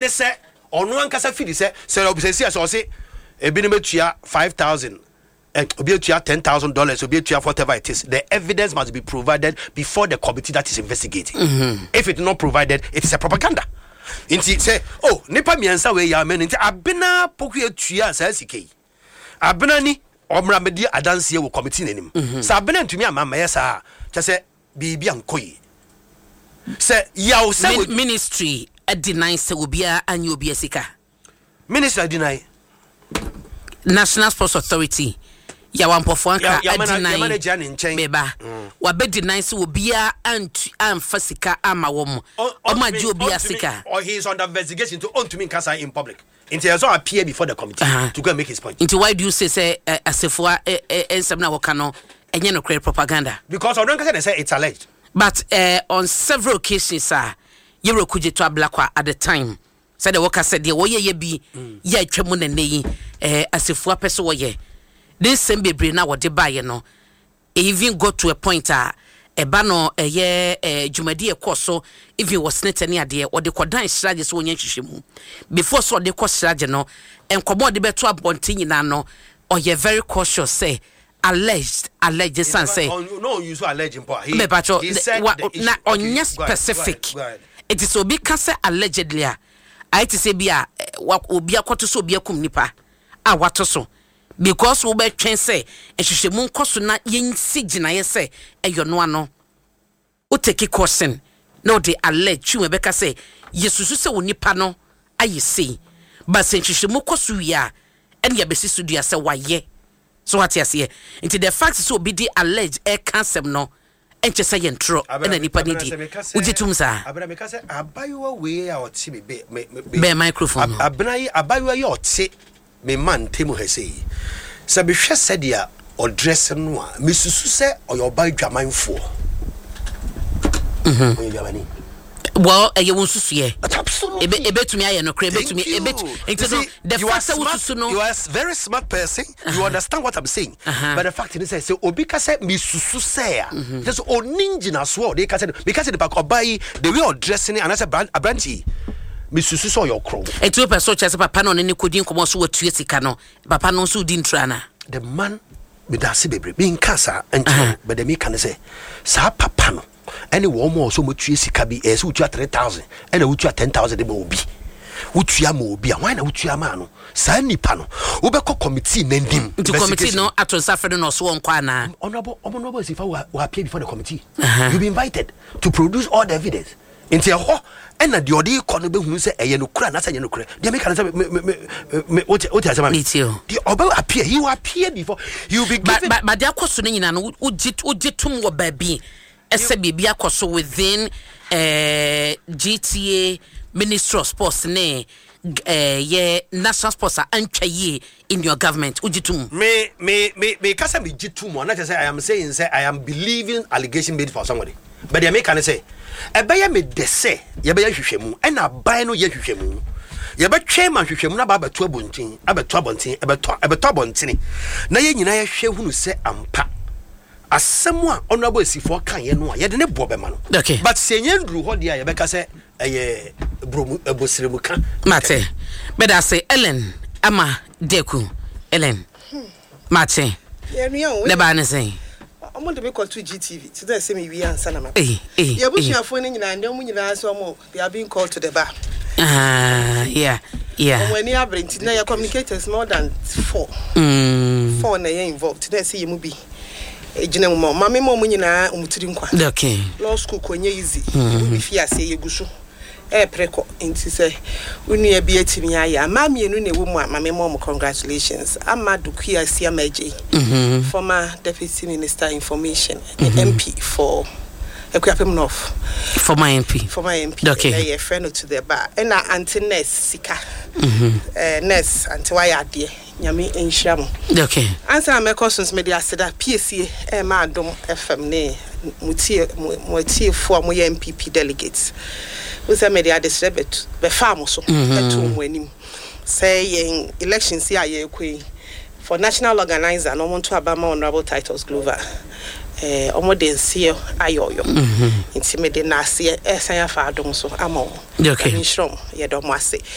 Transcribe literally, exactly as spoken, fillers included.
Ne sɛ ɔno ankasa fidi sɛ sɛ ɔbisɛsi a sɛ ɔse ebinom atua five thousand, eh, obi atua ten thousand dollars, obi atua whatever it is, the evidence must be provided before the committee that is investigating mm-hmm. If it not provided, it is a propaganda. Nti sɛ, oh, nipa mmiɛnsa wei yɛ amɛ no, nti Abena Poku atua saa sika yi, Abena ni ɔmmra mɛdi adanseɛ wɔ committee n'anim mm-hmm. Sɛ Abena ntumi ama mɛyɛ saa, kyɛ sɛ biribi ankɔ yie sɛ yaw sɛ Ministry deny sɛ obiara anyɛ obi sika. Ministry deny. National Sports Authority, Yaw Ampofo Ankrah deny beba wabɛ deny sɛ obiara antu amfa sika ama wɔn, ɔmo agye obiara sika. Or he is under investigation to ɔntumi nkasa in public, nti ɛsɛ appear before the committee uh -huh. to go and make his point. Nti why do you say sɛ uh, Assafuah nsɛm na wɔka no ɛnyɛ nokorɛ, propaganda? Because ɔno nkasa na sɛ it's alleged. But uh, on several occasions a yɛwura Okudzeto Ablakwa at the time, sɛdeɛ wɔka sɛ deɛ wɔyɛ yɛ bi yɛ atwa mu nane yi, eh, Assafuah pɛ sɛ wɔyɛ ne nsɛm bebree na wɔde baeɛ no, even got to a point a ɛba no ɛyɛ eh, dwumadi ɛkɔ so even wɔ senate ne adeɛ, wɔde kɔdan CHRAJ sɛ wɔnyɛ nhwehwɛmu. Before sɛ ɔde kɔ CHRAJ no, nkɔmɔ ɔde bɛto abɔnten nyinaa no, ɔyɛ very cautious sɛ alleged, alleged, san sɛ No, you so alleged mpo. He mɛpatwɔ na ɔnyɛ specific. Eti sɛ obi ka sɛ allegedly a, ayɛ te sɛ bi a obi akɔto so obi akum nipa a wato so, because wobɛtwɛn sɛ nhwehwɛmu nkɔ so na yɛnsi gyinaeɛ sɛ ɛyɛ ɔno ano. Wotake caution na wode allege twi wɔn bɛka sɛ yɛsusu sɛ wo nipa no ayɛ sei, but sɛ nhwehwɛmu kɔ so wie a, ɛne yɛbɛsi so dua sɛ wayɛ so. Wate aseɛ? Nti the fact sɛ obi de allege ɛka asɛm no, ɛnkyɛ sɛ yɛ ntorɔ ɛna nipa no di. Wogye tom saa? Abena, meka sɛ abayewa wei a ɔte me be me me bɛn microphone no. Abena yi, abayewa yi a ɔte me ma ntɛmu ha sɛ yi, sɛ mehwɛ sɛdeɛ ɔdress no a, mesusu sɛ ɔyɛ ɔba adwamanfoɔ, ɔyɛ adwamani. Well, ɛyɛ wo nsusuɛ. Absolutely. Ebe ebetumi ayɛ nokorɛ, ebetumi ebetumi. Nti no, the fact sɛ wosusu no. You are a very smart person uh -huh. You understand what I'm saying uh -huh. But the fact is sɛ obi ka sɛ mesusu sɛ a, kyerɛ sɛ ɔni ngyinasoɔ a ɔde ka sɛ meka sɛ nipa ɔbaa yi, the way ɔdress ne anaasɛ aberante yi, mesusu sɛ ɔyɛ ɔkorɔ. Nti wopɛ sɛ ɔkyerɛ sɛ papa no ɔne ne kɔdi nkɔmmɔ so watua sika no, papa no nso wodi ntura ana? The man, meda ase bebree, menka saa nkyerɛ, but the meka ne sɛ saa papa no ɛne wɔn mu a ɔsɛ wɔtua sika bi, ɛyɛ sɛ wotua three thousand ɛna wotua ten thousand de ma obi, wotua ma obi a, wɔn na wotua maa no, saa nipa no wobɛkɔ committee n'anim. Nti committee no ato nsa fɛ no na ɔso wɔn kɔ anaa? Honourable, Honourable Assafuah will, will appear before the committee uh -huh. You be invited to produce all the evidence. Nti ɛhɔ ɛna deɛ ɔde kɔ no bɛhunu sɛ ɛyɛ nokorɛ anaasɛ ɛnyɛ nokorɛ. Deɛ meka no sɛ me me me wote wote asɛm a deɛ ɔbɛ appear, he will appear before, he will be given. But but deɛ akɔ so no nyinaa no, wogye wogye tom wɔ baabi ɛsɛ biribi akɔ so within uh, G T A, Ministry of Sports ne uh, yɛ National Sports a antwa yie in your government, wogye tom? me me me me kasa me gye tom a, na kyerɛ sɛ I am saying sɛ I am believing allegation made for somebody, but deɛ meka ne sɛ ɛbɛyɛ me dɛ sɛ yɛbɛyɛ hwehwɛmu, ɛna aban no yɛ hwehwɛmu, yɛbɛtwɛn ma hwehwɛmu no aba abɛto abɔnten, abɛto abɔnten, ɛbɛtɔ ɛbɛtɔ abɔntene na yɛn nyinaa yɛhwɛ hunu sɛ ampa asɛm a Honourable Assafuah kaeɛ no a, yɛde ne boɔ bɛma no. Okay. But sɛ yɛn duru hɔ deɛ a, yɛbɛka sɛ ɛyɛ bromu ɛbɔsiremu ka. Mate, bɛda ase. Ellen Ama Deku, Ellen, mate. Ne baa ne sɛn? Ɔmo de me kɔto G T V ti dɛ sɛ me wie ansa na ma Ei, ei. Yɛ abusuafoɔ no nyinaa ndɛ, ɔmo nyinaa sɛ ɔmo, they are being called to the bar. Ah, yeah yeah Ɔmo ani abere, nti na yɛ communicators more than four mm. four na ɛyɛ involved na ɛsɛ yɛ mu bi gyina mu ma ɔmo. Maame ma ɔmo nyinaa ɔmo tiri nkwa. Okay law school kɔ nyɛ easy mm. Bi fi aseɛ, yɛgu so ɛɛpere kɔ, nti sɛ wo nua bi atumi ayɛ a, mmaa mmienu na ɛwɔ mu a, maame ma ɔmo congratulations. Ama Dokuya Asiama Adjei, mm-hmm. former Deputy Minister Information mm -hmm. M P for Akuapem North. Former M P. Former M P. Okay. Ɛnɛ yɛfrɛ no to the bar. Ɛna Aunty Nurse Sika, mm-hmm. uh, nurse Aunty, wayɛ adeɛ, Nyame nhyira mo. Okay ansa na mɛkɔ so nso, mede aseda piesie ɛma Adom F M ne mo tie mo mo atiefoɔ a moyɛ N P P delegates wo sɛ mede adesrɛ bɛtu bɛfaa mo so ɛtoo mo anim sɛ yɛn elections yi a yɛrekɔ yi for national organizer na ɔmo nto aba ma Honourable Titus Glover. ɛɛ ɔmo de nseɛ ayɛ ɔyɔ, nti mede naaseɛ ɛsan afa Adom so ama ɔmo. Okay. Nyame nhyira ɔmo, yɛdɔ ɔmo ase.